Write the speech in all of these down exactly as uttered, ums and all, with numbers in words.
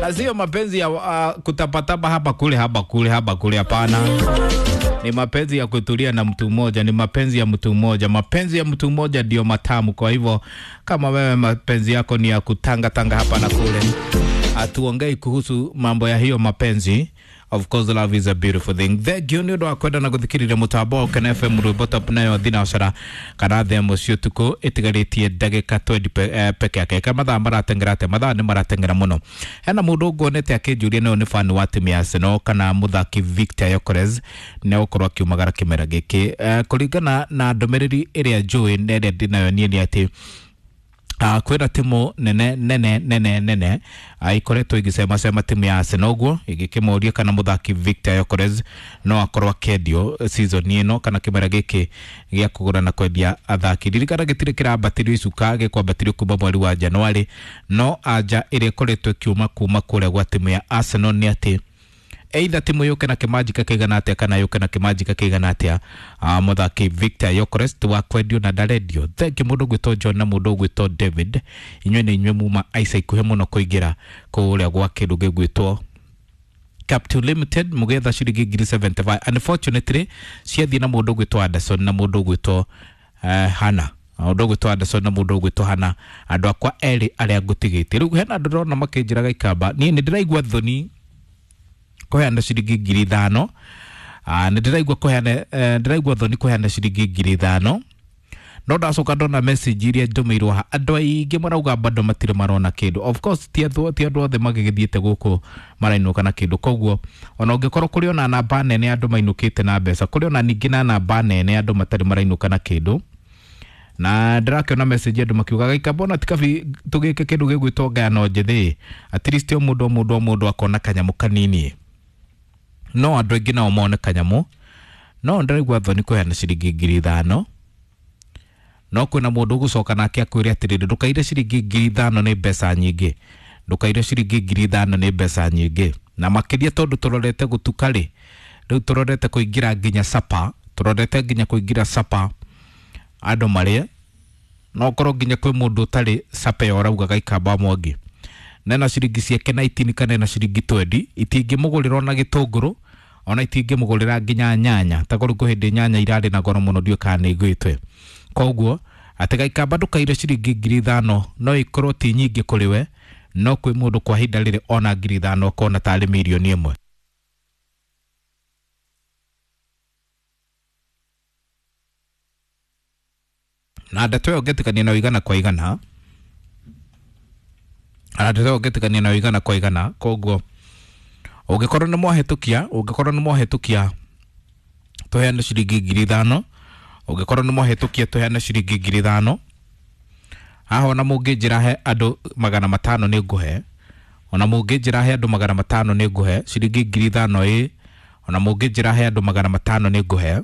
Na sio mapenzi ya uh, kutapatapa hapa kule hapa kule hapa kule, hapana. Ni mapenzi ya kutulia na mtu mmoja, ni mapenzi ya mtu mmoja. Mapenzi ya mtu mmoja ndio matamu. Kwa hivyo kama wewe mapenzi yako ni ya kutanga tanga hapa na kule, hatuongei kuhusu mambo ya hiyo mapenzi. Of course love is a beautiful thing. Thengiũ nĩ ũndũ wa kwenda na gũthikĩrĩria mũtambo wa Ũkena F M rwĩmbo top nayo thinacara kana thaa ĩmwe cia ũtukũ ĩtigarĩtie ndagĩka twendi pe, eh, peke yake. Ka mathaa marateng'era atĩa? Mathaa nĩ marateng'era mũno. Hena mũndũ nguonete akĩnjũria nĩyo nĩ fan wa timu ya Arsenal kana mũthaki Victor Gyökeres nĩ egũkorwo akiumagara kĩmera gĩkĩ. Eh, kũringana na ndũmĩrĩri ĩrĩa njũĩ na ĩrĩa ndĩnayo niĩ nĩ atĩ Uh, kwĩna timu nene nene nene nene uh, ikoretwo igĩcemacema timu ya Arsenal ũguo igĩkĩmũria kana mũthaki Victor Gyökeres no akorwo akĩendio season ĩno kana kĩmera gĩkĩ gĩa kũgũra na kwendia athaki. Ririkana gĩtirĩ kĩrambatĩrio icuka, gĩkwambatĩrio kuma mweri wa Januarĩ, no anja ĩrĩa ĩkoretwo ĩkiuma kuma kũrĩa gwa timu ya Arsenal nĩ atĩ either timu yũke na kĩmanjika kĩigana atĩa kana yũke na kĩmanjika kĩigana atĩa, uh, mũthaki Victor Gyökeres ti wa kwendio na ndarendio. Thengiũ mũndũ ũgwĩtwo John na mũndũ ũgwĩtwo David, inyuĩ nĩ inyuĩ muma ica ikuhĩ mũno kũingĩra kũrĩa gwa kĩndũ gĩgwĩtwo Capital Limited mũgĩetha ciringi ngiri seventy-five. Unfortunately ciathiĩ na mũndũ ũgwĩtwo Anderson na mũndũ ũgwĩtwo uh, Hannah. Mũndũ ũgwĩtwo Anderson na mũndũ ũgwĩtwo Hannah, andũ akwa erĩ arĩa ngũtigĩte. Rĩu hena andũ ndĩrona makĩnjĩra Gaikamba, niĩ nĩ ndĩraigua thoni kũheana ciringi ngiri ithano. Ah, nĩ ndĩraigua kũheana, eh, ndĩraigua thoni kũheana ciringi ngiri ithano. No ndacoka ndona message iria ndũmĩirwo haha, andũ aingĩ marauga bado matirĩ marona kĩndũ. Of course ti andũ, ti andũ othe magĩgĩthiĩte gũkũ marainũka na kĩndũ, koguo ona ũngĩkorwo kũrĩ ona namba nene andũ mainũkĩte na mbeca, kũrĩ ona ningĩ na namba nene andũ matarĩ marainũka na kĩndũ. Na ndĩrakĩona message andũ makiuga Gaikamba ona tikabi tũgĩke kĩndũ gĩgwĩtwo ngayano njĩthĩ, at least o mũndũ o mũndũ o mũndũ akona kanyamũ kanini, no andũ aingĩ nao mone kanyamũ. No ndĩraigua thoni kũheana ciringi ngiri ithano, no kwĩna mũndũ ũgũcoka nake akwĩre atĩrĩrĩ, ndũkaire ciringi ngiri ithano nĩ mbeca nyingĩ, ndũkaire ciringi ngiri ithano nĩ mbeca nyingĩ. Na makĩria tondũ tũrorete gũtuka rĩ, rĩu tũrorete kũingĩra nginya sapa, tũrorete nginya kũingĩra sapa andũ marĩe, no korwo nginya kwĩ mũndũ ũtarĩ sapa ĩyo ũrauga Gaikamba Mwangi nena ciringi ciake na itini kana ena ciringi twendi itingĩmũgũrĩra ona gĩtũngũrũ ona itingĩmũgũrĩra nginya nyanya, ta korwo kwĩ hĩndĩ nyanya irarĩ na goro mũno ndiũĩ kana nĩ ĩgwĩte. Koguo atĩ Gaikamba ndũkaire ciringi ngiri ithano no ikorwo ti nyingĩ kũrĩ we, no kwĩ mũndũ kwa ihinda rĩrĩ ona ngiri ithano akona tarĩ mirioni ĩmwe. Na ndeto ĩyo ngĩtĩkania nayo igana kwa igana, na ndeto ĩyo ngĩtĩkania nayo igana kwa igana. Koguo ũngĩkorwo nĩ mwahĩtũkia, ũngĩkorwo nĩ mwahĩtũkia tũheane ciringi ngiri ithano, ũngĩkorwo nĩ mwahĩtũkia tũheane ciringi ngiri ithano. Haha ona mũngĩnjĩra he andũ magana matano nĩ ngũhe, ona mũngĩnjĩra he andũ magana matano nĩ ngũhe ciringi ngiri ithano ĩ, ona mũngĩnjĩra he andũ magana matano nĩ ngũhe.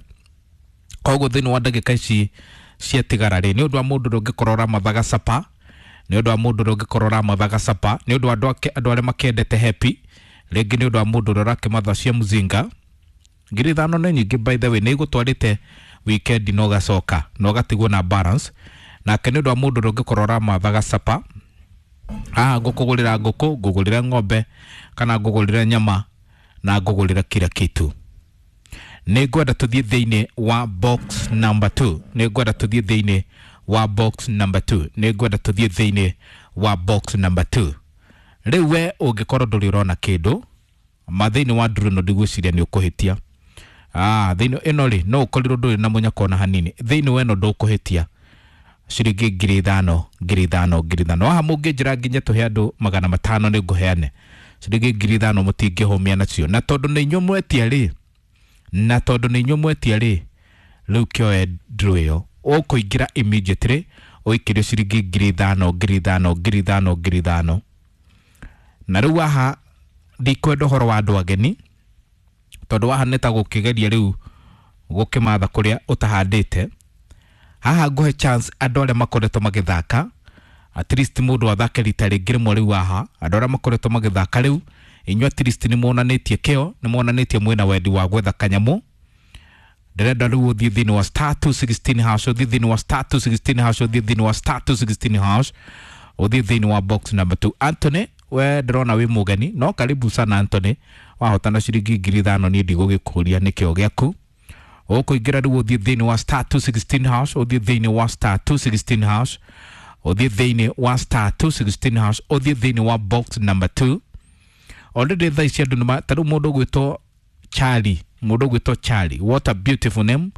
Koguo thĩinĩ wa ndagĩka ici ciatigara rĩ, nĩ ũndũ wa mũndũ ũrĩa ũngĩkorwo ũramathaga sapa, nĩ ũndũ wa mũndũ ũrĩa ũngĩkorwo ũramathaga sapa, nĩ ũndũ wa andũ ake, andũ arĩa makĩendete happy, rĩngĩ nĩ ũndũ wa mũndũ ũrĩa ũrakĩmatha cia mũzinga. Ngiri ithano nĩ nyingĩ by the way, nĩ igũtwarĩte weekend na ũgacoka na ũgatigwo na balance. Nake nĩ ũndũ wa mũndũ ũrĩa ũngĩkorwo ũramathaga sapa, haha ngũkũgũrĩra ngũkũ, ngũgũrĩra ng'ombe kana ngũgũrĩra nyama na ngũgũrĩra kila kitu. Nĩ ngwenda tũthiĩ thĩinĩ wa box number two, nĩ ngwenda tũthiĩ thĩinĩ wa box number two, nĩ ngwenda tũthiĩ thĩinĩ wa box number two. Rĩu we ũngĩkorwo ndũrĩ ũrona kĩndũ ma thĩinĩ wa ndũrũ ĩno ndigwĩciria nĩ ũkũhĩtia. Ah, thĩinĩ ĩno rĩ no ũkorirwo ndũrĩ na mũnyaka ona hanini, thĩinĩ wa ĩno ndũkũhĩtia ciringi ngiri ithano, ngiri ithano, ngiri ithano. Haha mũngĩnjĩra nginya tũhe andũ magana matano nĩ ngũheane ciringi ngiri ithano, mũtingĩhũmia nacio. Na tondũ nĩ inyuĩ mwetia rĩ, na tondũ nĩ inyuĩ mwetia rĩ, rĩu kĩoe ndũrũ ĩyo ũkũingĩra immediately ũikĩrio ciringi ngiri ithano, ngiri ithano, ngiri ithano, ngiri ithano. Na rĩu haha ndikwenda ũhoro wa andũ ageni, tondũ haha nĩ ta gũkĩgeria rĩu gũkĩmatha kũrĩa ũtahandĩte. Haha ngũhe chance andũ arĩa makoretwo magĩthaka, at least mũndũ athake rita rĩngĩ rĩmwe rĩu haha. Andũ arĩa makoretwo magĩthaka rĩu inyuĩ at least nĩ muonanĩtie kĩo, nĩ muonanĩtie mwĩna wendi wa gwetha kanyamũ. Ndĩrenda rĩu ũthiĩ thĩinĩ wa star two sixteen hash, ũthiĩ thĩinĩ wa star two sixteen hash, ũthiĩ thĩinĩ wa star two sixteen hash, ũthiĩ thĩinĩ wa box number two. Anthony We ndĩrona wĩ mũgeni, no karibu sana Anthony. Wahotana ciringi ngiri ithano, niĩ ndigũgĩkũria nĩkĩo gĩaku. Ũkũingĩra rĩu ũthiĩ thĩinĩ wa star two sixteen hash, ũthiĩ thĩinĩ wa star two sixteen hash, ũthiĩ thĩinĩ wa star two sixteen hash, ũthiĩ thĩinĩ wa box number two. Already thaa ici andũ nĩma, ta rĩu mũndũ ũgwĩtwo Charlie, mũndũ ũgwĩtwo Charlie, what a beautiful name.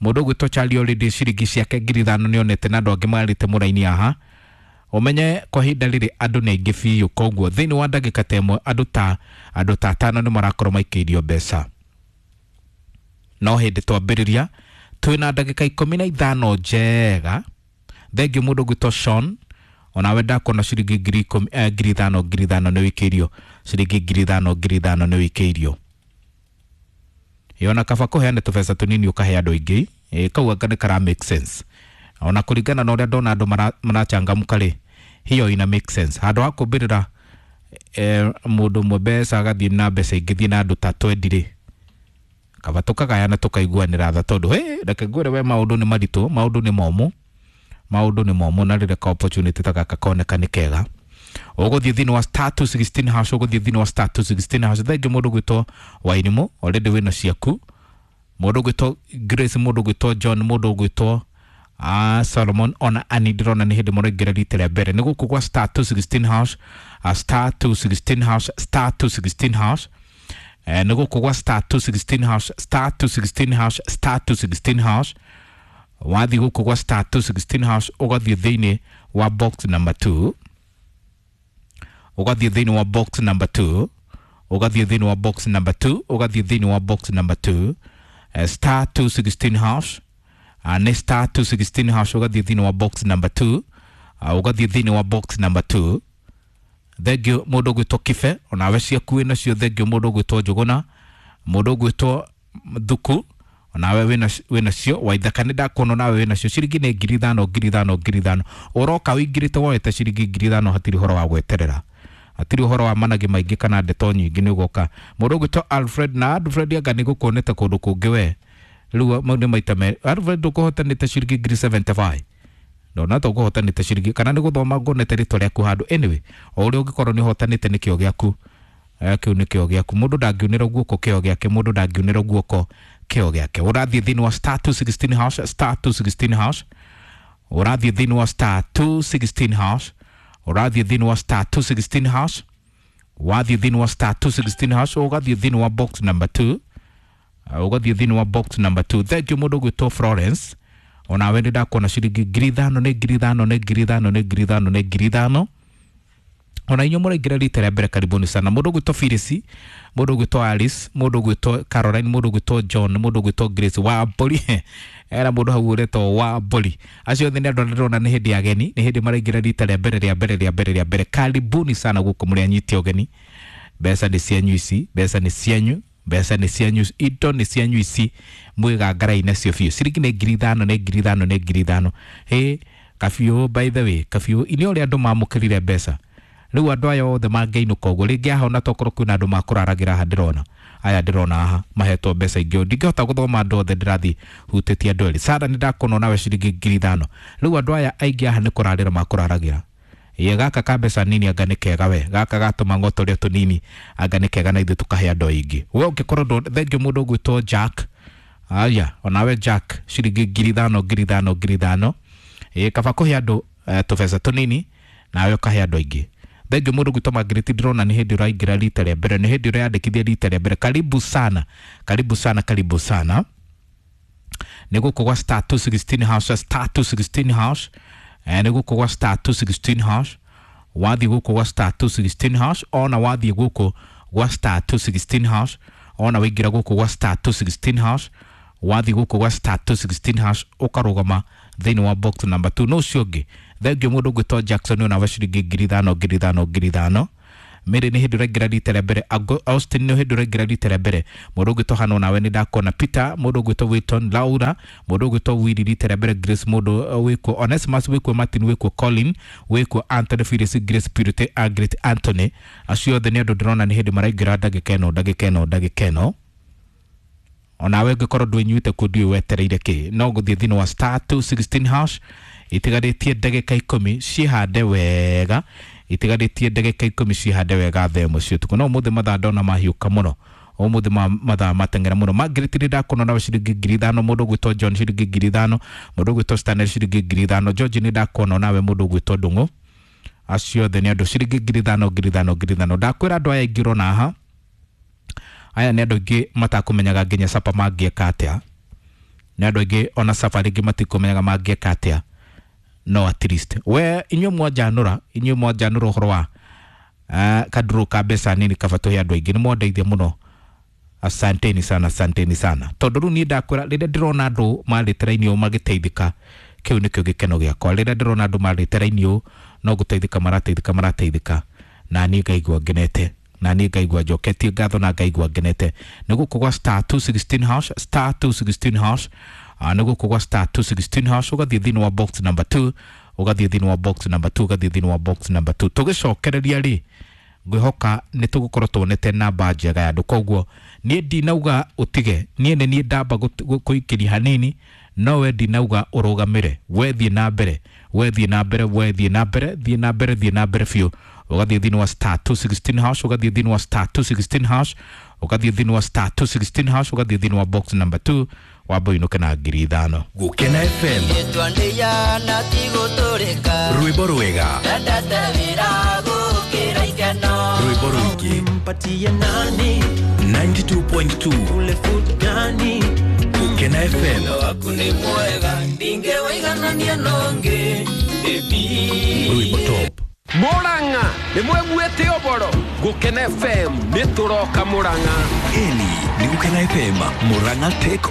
Mũndũ ũgwĩtwo Charlie already ciringi ciake ngiri ithano nĩonete, na andũ angĩ marĩte mũraini haha. Ũmenye kwa ihinda rĩrĩ andũ nĩ aingĩ biũ, koguo thĩinĩ wa ndagĩka ta ĩmwe andũ ta andũ ta atano nĩ marakorwo maikĩirio mbeca. No hĩndĩ twambĩrĩria twĩna ndagĩka ikũmi na ithano njega. Thengiũ mũndũ ũgwĩtwo Sean, onawe ndakuona ciringi ngiri ikũmi, eh, ngiri ithano, ngiri ithano nĩ wĩikĩirio ciringi ngiri ithano, ngiri ithano nĩ wĩikĩirio. Ĩ, ona kaba kũheane tũbeca tũnini ũkahe andũ aingĩ, ĩ, kau anga nĩ kara make sense. Ona kũringana na ũrĩa ndona andũ mara- marachangamka rĩ, hiyo ina make sense. Handũ ha kũmbĩrĩra eh, mũndũ ũmwe mbeca agathiĩ na mbeca ingĩ thiĩ na andũ ta twendi rĩ, kaba tũkagayana tũkaiguanĩra tha, tondũ hey, reke ngwĩre we, maũndũ nĩ maritũ, maũndũ nĩ momũ, maũndũ nĩ momũ, na rĩrĩa ka opportunity ta gaka koneka nĩ kega. Ũgũthiĩ thĩinĩ wa star two sixteen hash, ũgũthiĩ thĩinĩ wa star two sixteen hash. Thengiũ mũndũ ũgwĩtwo Wairimu, already wĩna ciaku. Mũndũ ũgwĩtwo Grace, mũndũ ũgwĩtwo John, mũndũ ũgwĩtwo uh, Solomon, ona Ani ndĩrona nĩ hĩndĩ mũraingĩra rita rĩa mbere. Nĩ gũkũ gwa star two sixteen hash, uh, star two sixteen hash, star two sixteen hash. Eh, nĩ gũkũ gwa star two sixteen hash, star two sixteen hash, star two sixteen hash. Wathiĩ gũkũ gwa star two sixteen hash, ũgathiĩ thĩinĩ wa box number two, ũgathiĩ thĩinĩ wa box number two, ũgathiĩ thĩinĩ wa box number two, ũgathiĩ thĩinĩ wa box number two, eh, star two sixteen hash, uh, nĩ star two sixteen hash, ũgathiĩ thĩinĩ wa box number two, uh, ũgathiĩ thĩinĩ wa box number two. Thengiũ mũndũ ũgwĩtwo Kibe, onawe ciaku wĩ nacio. Thengiũ mũndũ ũgwĩtwo Njũgũna, mũndũ ũgwĩtwo Thuku, onawe wĩna wĩnacio. Waithaka nĩ ndakuona, onawe wĩnacio. Ciringi nĩ ngiri ithano, ngiri ithano, ngiri ithano. Ũroka ũingĩrĩte woete ciringi ngiri ithano, hatirĩ ũhoro wa gweterera, hatirĩ ũhoro wa managĩ maingĩ kana ndeto nyingĩ, nĩ ũgoka. Mũndũ ũgwĩtwo Alfred, na Alfred anga nĩ gũkuonete kũndũ kũngĩ we. Rĩu mau nĩ maita merĩ Alfred ũkũhotanĩte ciringi ngiri seventy-five. Ndona ta ũkũhotanĩte ciringi, kana nĩ gũthoma nguonete rĩtwa rĩaku handũ. Anyway, o ũrĩa ũngĩkorwo nĩ ũhotanĩte, nĩ kĩo gĩaku. Eh, kĩu nĩ kĩo gĩaku, mũndũ ndangĩunĩra guoko kĩo gĩake, mũndũ ndangĩunĩra guoko kĩo gĩake. Ũrathiĩ thĩinĩ wa star two sixteen hash, star two sixteen hash, ũrathiĩ thĩinĩ wa star two sixteen hash, ũrathiĩ thĩinĩ wa star two sixteen hash. Wathiĩ thĩinĩ wa star two sixteen hash, ũgathiĩ thĩinĩ wa box number two, ũgathiĩ thĩinĩ wa box number two. Thank you. Mũndũ ũgwĩtwo Florence, onawe nĩ ndakuona ciringi ngiri ithano, nĩ ngiri ithano, nĩ ngiri ithano, nĩ ngiri ithano, nĩ ngiri ithano. Ona inyuĩ mũraingĩra rita rĩa mbere, karibuni sana. Mũndũ ũgwĩtwo Phyllis, mũndũ ũgwĩtwo Alice, mũndũ ũgwĩtwo Caroline, mũndũ ũgwĩtwo John, mũndũ ũgwĩtwo Grace wa Mbũri, era mũndũ hau ũretwo wa Mbũri. Acio othe nĩ andũ arĩa ndĩrona nĩ hĩndĩ ya ageni, nĩ hĩndĩ maraingĩra rita rĩa mbere, rĩa mbere, rĩa mbere, rĩa mbere. Karibuni sana gũkũ mũrĩ anyiti ũgeni. Mbeca nĩ cianyu ici, mbeca nĩ cianyu, mbeca nĩ cianyu, indo nĩ cianyu ici, mwĩgangarai nacio biũ. Ciringi nĩ ngiri ithano, nĩ ngiri ithano, nĩ ngiri ithano. Hĩ, kabiũ, by the way, kabiũ ini ũrĩa andũ mamũkĩrire mbeca. Rĩu andũ aya othe mangĩinũka ũguo rĩngĩ haha, ona tokorwo kwĩna andũ makũraragĩra haha, ndĩrona aya, ndĩrona haha mahetwo mbeca ingĩ. Ndingĩhota gũthoma andũ othe, ndĩrathiĩ hutĩtie andũ erĩ. Sara, nĩ ndakuona nawe ciringi ngiri ithano. Rĩu andũ aya aingĩ haha nĩ kũrarĩra makũraragĩra. Ĩĩ, gaka ka mbeca nini anga nĩ kega we, gaka gatũma ng'otoria tũnini anga nĩ kega, na ithuĩ tũkahe andũ aingĩ. We ũngĩkorwo ndũ, thengiũ mũndũ ũgwĩtwo Jack, aya, onawe Jack ciringi ngiri ithano, ngiri ithano, ngiri ithano. Ĩĩ, kaba kũhe andũ eh, tũbeca tũnini nawe ũkahe andũ aingĩ. Thengiũ mũndũ ũgwĩtwo Margaret, ndĩrona nĩ hĩndĩ ũraingĩra rita rĩa mbere, nĩ hĩndĩ ũreyandĩkithia rita rĩa mbere. Karibu sana, karibu sana, karibu sana. Nĩ gũkũ gwa star two sixteen hash, star two sixteen hash. eh, nĩ gũkũ gwa star two sixteen hash. Wathiĩ gũkũ gwa star two sixteen hash, ona wathiĩ gũkũ gwa star two sixteen hash, ona waingĩra gũkũ gwa star two sixteen hash, wathiĩ gũkũ gwa star two sixteen hash, ũkarũgama thĩinĩ wa box number two. No ũcio ũngĩ, thengiũ mũndũ ũgwĩtwo Jackson, ona ciringi ngiri ithano, ngiri ithano, ngiri ithano. Mary nĩ hĩndĩ ũraingĩra rita rĩa mbere. Ago- Austin nĩ hĩndĩ ũraingĩra rita rĩa mbere. Mũndũ ũgwĩtwo Hano, nawe nĩ ndakuona. Peter, mũndũ ũgwĩtwo Witton, Laura, mũndũ ũgwĩtwo Willy rita rĩa mbere, Grace, mũndũ uh, wĩkuo Onesimus, wĩkuo Martin, wĩkuo Colin, wĩkuo Anthony, Phyllis, Grace, Purity, Agret, Anthony. Acio othe nĩ andũ ndĩrona nĩ hĩndĩ maraingĩra ndagĩka ĩno, ndagĩka ĩno, ndagĩka ĩno. Onawe ũngĩkorwo ndwĩnyuĩte kuo, ndiũĩ wetereire kĩ, no gũthiĩ thĩinĩ wa star two sixteen hash. Itigarĩtie ndagĩka ikũmi, ciĩhande wega. Itigarĩtie ndagĩka ikũmi cihande wega thaa ĩmwe cia ũtukũ. No ũmũthĩ mathaa ndona mahiũka mũno, ũmũthĩ ma- mathaa mateng'era mũno. Margaret, nĩ ndakuona nawe ciringi ngiri ithano. Mũndũ ũgwĩtwo John, ciringi ngiri ithano. Mũndũ ũgwĩtwo Stanley, ciringi ngiri ithano. George, nĩ ndakuona nawe. Mũndũ ũgwĩtwo Ndung'u, acio othe nĩ andũ ciringi ngiri ithano, ngiri ithano, ngiri ithano. Ndakwĩra andũ aya aingĩ ũrona haha, aya nĩ andũ aingĩ matakũmenyaga nginya sapa mangĩeka atĩa. Nĩ andũ aingĩ ona sapa rĩngĩ matikũmenyaga mangĩeka atĩa, no at least we inyuĩ mwanjanũra, inyuĩ mwanjanũra ũhoro wa uh, kaduru ka mbeca nini kaba tũhe andũ aingĩ, nĩ mwandeithia mũno. Asanteni sana, asanteni sana, tondũ rĩu niĩ ndakwĩra, rĩrĩa ndĩrona andũ marĩte raini ũũ magĩteithĩka, kĩu nĩkĩo gĩkeno gĩakwa. Rĩrĩa ndĩrona andũ marĩte raini ũũ no gũteithĩka marateithĩka, marateithĩka, na niĩ ngaigua ngenete, na niĩ ngaigua njoketie ngatho na ngaigua ngenete. Nĩ gũkũ gwa star two sixteen hash, star two sixteen hash. uh, nĩ gũkũ gwa star two sixteen hash, ũgathiĩ thĩinĩ wa box number two, ũgathiĩ thĩinĩ wa box number two, ũgathiĩ thĩinĩ wa box number two. Tũgĩcokereria rĩ, ngwĩhoka nĩ tũgũkorwo tuonete namba njega ya andũ. Koguo niĩ ndinauga ũtige, niĩ nĩ niĩ ndamba gũt- gũ- kũikĩria hanini, no we ndinauga ũrũgamĩre. We thiĩ na mbere, we thiĩ na mbere, we thiĩ na mbere, thiĩ na mbere, thiĩ na mbere biũ. Ũgathiĩ thĩinĩ wa star two sixteen hash, ũgathiĩ thĩinĩ wa star two sixteen hash, ũgathiĩ thĩinĩ wa star two sixteen hash, ũgathiĩ thĩinĩ wa box number two, wamba ũinũke na ngiri ithano. Gukena F M. Gĩtwandia na ti gũtũrĩka. Rwĩmbo rwega. Ndendete wĩra gũkĩra ikeno. Rwĩmbo rũingĩ. Mpatie nani? ninety-two point two. Ule food gani? Gukena F M. Waku nĩ mwega, ndingĩwaiganania nongĩ baby. Rwĩmbo top. Murang'a nĩ mweguĩte ũboro Gũkena F M nĩ tũroka Murang'a. Ĩni nĩ Gukena F M Murang'a take.